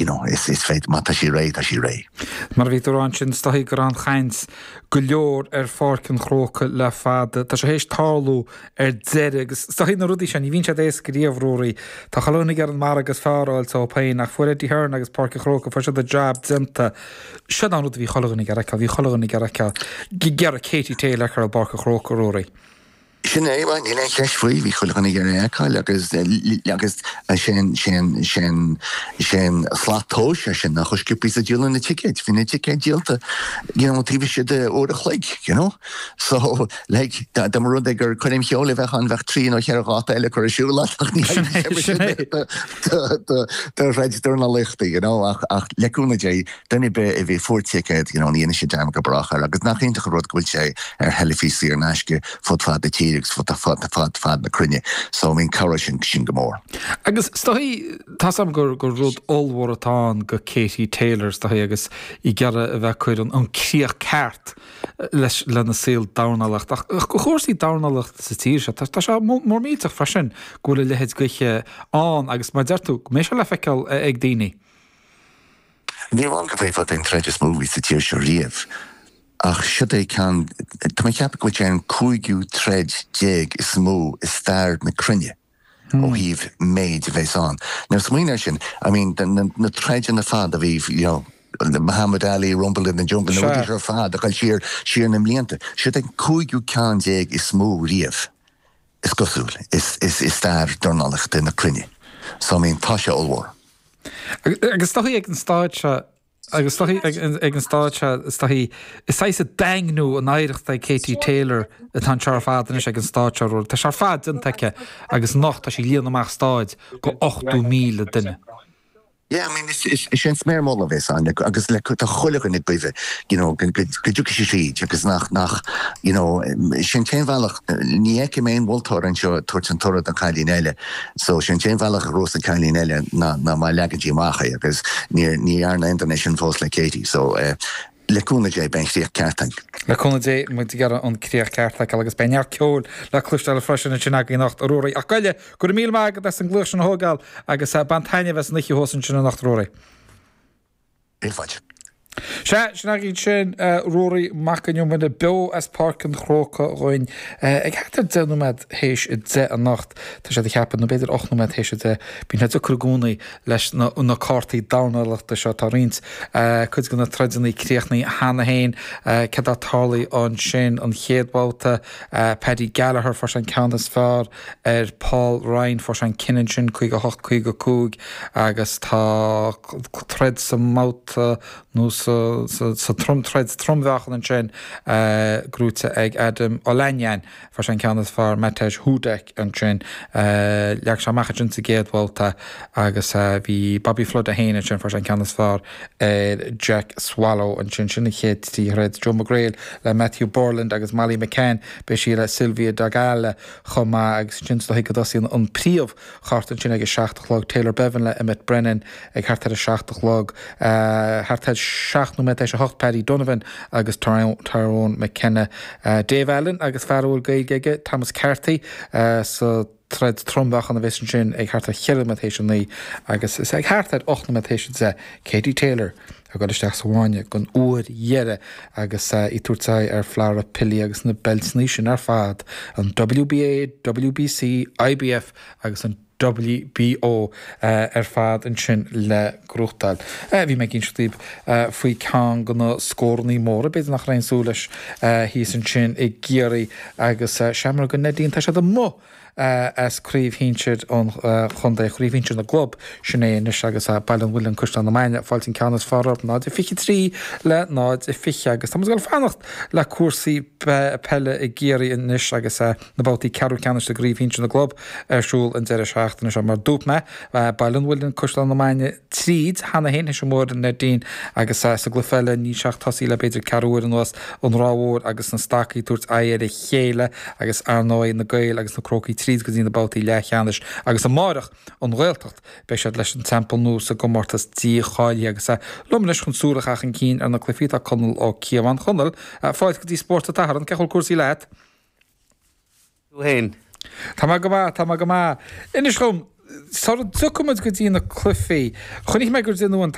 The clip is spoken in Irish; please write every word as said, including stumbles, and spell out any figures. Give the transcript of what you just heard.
you know, is is féidir má tá sí réidh tá sí réidh. Mar a bhí tú ansin is dóichí go raibh an chaint go leor ar Pháirc an Chrócaigh le fada. Tá sé théis tarlú ar deireadh agus is dóichí na rudaí sin, ní bhíonn siad éasca riamh Ruairí. Tá chuile dhuine ag iarraidh an margadh is fearr a fháil dóibh féin ach fuair Eddie Hearn agus Páirc an Chrócaigh fuair siad an jab déanta. Seo an rud a bhí chuile dhuine ag iarraidh a fheiceáil, bhí chuile dhuine ag iarraidh a fheiceáil ag iarraidh Katie Taylor a fheiceáil i bPáirc an Chrócaigh Ruairí. Sin é níl aon cheist faoi bhí chuile dhuine ag iarraidh a fheiceáil agus agus sin sin sin sin slat tomhais é sin nach sciobtha a díoladh na ticéid, bhí na ticéid díolta you know, taobh istigh de uair a chloig, you know? So like dá mba rud é gur coirm cheoil a bheadh ann bheadh trí nó ceithre dháta eile curtha ar siúl ach ní do throid dornálaíochta, you know, ach ach le cúnamh Dé duine ar bith a bhí fuair ticéad, you know, ní dhéanfaidh siad dearmad go brách air agus nach iontach an rud go bhfuil sé ar theilifís saor in aisce fud fad na tíre agus fud fad fad fad na cruinne. So I mean cabhróidh sin sin go mór. Agus is dóichí tá 's agam gur gur rud ollmhór atá ann go Katie Taylor is dóichí agus í ag iarraidh a bheith ag cur an an críoch ceart leis lena saol dornálaíochta ach go chúrsaí dornálaíochta sa tír seo tá tá sé mór millteach freisin go bhfuil a leithéid d'oíche ann agus mar deir tú go mbeidh sé le feiceáil ag daoine. Ní amháin go bhféadfadh an troid is mó sa tír seo riamh. Ach siod é ceann tá mé ag ceapadh go bhfuil sé an cúigiú troid déag is mó i stair na cruinne ó thaobh méid a bheas ann. Now smaoinigh air sin, I mean na na troideanna fad a bhí you know, Muhammad Ali, Rumble in the Jungle, na rudaí ar fad a chaill siar siar na mblianta. Siod é an cúigiú ceann déag is mó riamh is cosúil is is i stair dornálaíochta na cruinne. So I mean tá sé ollmhór. Agus is dóichí ag an staid seo agus is dóichí ag an staid seo is dóichí is saghas ag daingniú an oidhreacht ag Katie Taylor atá anseo ar fad anois ag an staid seo Ruairí. Tá sé ar fad déanta aici agus anocht tá sí ag líonadh amach staid go ochtó míle duine. Yeah, I mean is is is é an sméar mullaigh a bheas ann agus le tá chuile dhuine ag goimh you know go go go dtiocfaidh sí tríd agus nach nach you know sin t-aon bhealach ní fheicim aon mholtóir anseo ag tabhairt an toradh don chailín eile so sin t-aon bhealach a ghnóthós an cailín eile ná ná má leagann sí amach é agus ní ní dhearna aon duine sin fós le Katie so eh, le cúnamh Dé beidh an chríoch ceart againn. Le cúnamh Dé muid ag iarraidh an críoch ceart a fheiceáil agus beidh neart ceoil le cloisteáil freisin ansin againn anocht a Ruairí. Ach goile, go raibh míle maith agat as an glaoch sin a thógáil agus bain taitneamh as an oíche thuas ansin anocht a Ruairí. Níl faic. Sea, sin againn sin Ruairí Mac Con Iomaire beo as Páirc an Chrócaigh dhúinn ag thart ar deich nóiméad théis a deich anocht. Tá siad ag ceapadh, nó b'fhéidir ocht nóiméad théis a deich. Bíonn sé deacair i gcónaí leis na na cártaí dornálaíochta seo. Tá roinnt cuid de na troideanna críochnaithe cheana féin. Céard atá tarlaithe ansin an chéad bhabhta? Paddy Gallagher fuair sé an ceann is fearr ar Paul Ryan, fuair sé an cinneadh ansin caoga a hocht caoga a cúig agus tá troid sa mbabhta nó sa sa sa trom troid trom-mheáchan ansin gnóite ag Adam Olanian. Fuair sé an ceann is fearr Matej Hudek ansin. Leag sé amach ansin sa gcéad bhabhta agus bhí Bobby Flood é féin ansin, fuair sé an ceann is fearr ar Jack Swallow ansin. Sin an chéad trí throid. Joe McGrail le Matthew Borland agus Molly McCann, beidh sí le Sylvia Dogala chomh maith agus ansin is dóichí go dtosaíonn an príomh chárta ansin ag a seacht a chlog. Taylor Bevan le Emmet Brennan ag thart ar a seacht a chlog. Thart ar seacht nóiméad tar éis a hocht Paddy Donovan agus Tyrone McKenna. Dave Allen agus fear a bhfuil Gaeilge aige, Thomas Carthy, sa troid trom-mheáchan a bheas ansin ag thart ar cheithre nóiméad théis a naoi agus is ag thart ar ocht nóiméad théis a deich Katie Taylor ag dul isteach sa bhfáinne don uair dheiridh agus í ag tabhairt aghaidh ar Flora Pili agus na beilteanna sin ar fad, an WBA, WBC, IBF agus an WBO ar fad ansin le gnóthachtáil. Bhí mé ag inse daoibh faoi ceann de na scórannaí móra, b'fhéidir nach raibh aon súil leis thíos ansin i gCiarraí agus seamróg an Neidín, tá siad amuigh as Craobh Shinsir an Chontae, Craobh Shinsir na gClub, sin é anois agus Baile an Mhuilinn, Caisleán na Mainge, ag fáilt an ceann is fearr orthu, náid a fiche trí le náid a fiche agus tá muid ag dul fanacht le cúrsaí peile i gCiarraí anois agus na babhtaí ceathrú ceannais de gCraobh Shinsir na gClub ar siúl an deireadh seachtaine seo. Mar dúirt mé, Baile an Mhuilinn, Caisleán na Mainge tríd cheana féin, théis an uair a Neidín, agus sa gcluiche eile níl sé ach tosaithe le b'fhéidir ceathrú uair anuas, an Ráth Mhór agus na Stacaigh ag tabhairt aghaidh ar a chéile agus ar ndóigh na Gaeil agus na Crócaigh tríd go dtí na babhtaí leathcheannais agus amáireach an Ghaeltacht beidh siad leis an Teampall Nua sa gcomórtas dícháilithe agus liom anois chun súil a chaitheamh chun cinn ar na cluichí tá Conall Ó Cíobháin. Chonaill, fáilte go dtí Spórt an tSathairn, cén chaoi a bhfuil cúrsaí leat? Tú fhéin? Tá mé go maith, tá mé go maith. Inis dhom, Sara dtiocfaidh muid go dtí na cluichí, chonaic mé gur déanadh an